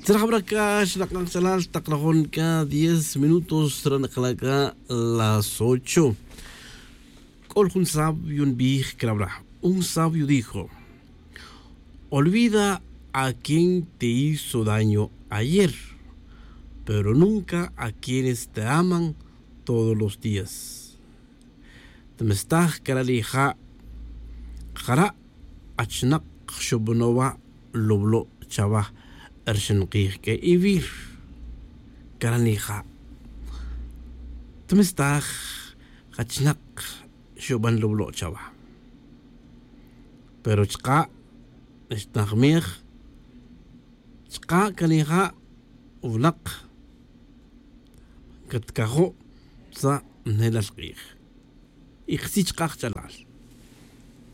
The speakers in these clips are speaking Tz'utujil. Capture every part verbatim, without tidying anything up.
Tzrajabra' c'a xnak'an kachalal tak rajon c'a diez minutos ranakala' c'a las ocho. C'ol jun sabio nbij crabra'. Un sabio dijo: olvida a quien te hizo daño ayer, pero nunca a quienes te aman todos los días. Tmestaj cara' nija'. Jara' achinak xubano' wa' lublo' chawa rxin kij c'a ivir. Cara' nija'. Tmestaj achinak xuban lublo' chawa. Pero chka' xtnajmej chka' canija' winak catcajo' sa' nelal k'ij. Y ktzij chka' kach'alal,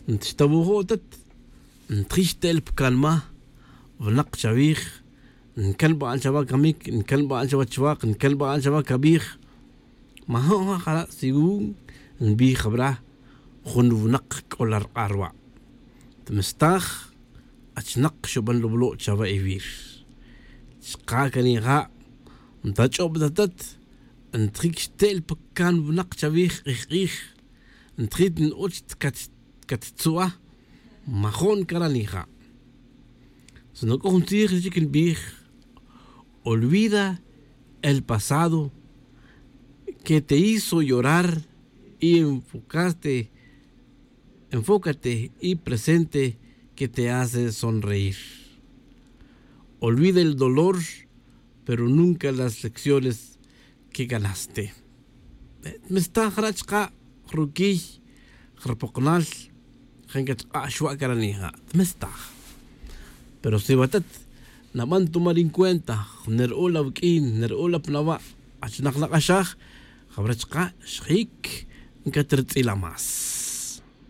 ntxtawojo' atet ntjix te'el pa canma winak chawij. Ncanba'an chawa camic, ncanba'an chawa chwak, ncanba'an chawa cawij. Majo'n ja jara' según nbij jabra' jun winak c'o la rk'ar wa'. Tmestaj achinak xuban lublo' chawa ivir. Chka' canija' ntach'ob ta atet ntjic xte'el pa can winak chawij k'ij k'ij. Ntjit n-och cattzua. Majo'n cara' nija'. Sino c'o jun tzij chic nbij: olvida el pasado que te hizo llorar y enfocaste enfócate y presente que te hace sonreír. Olvida el dolor pero nunca las lecciones que ganaste. Tmestaj jara' chka' ruquiy rpokonal. Jan cachk'a' xwa' cara' nija' tmestaj. Pero si watet naban tomar en cuenta neru'ul awuq'uin neru'ul apnawa' achinak nak'axaj, jawra chka' xjic ncatrtz'ila más.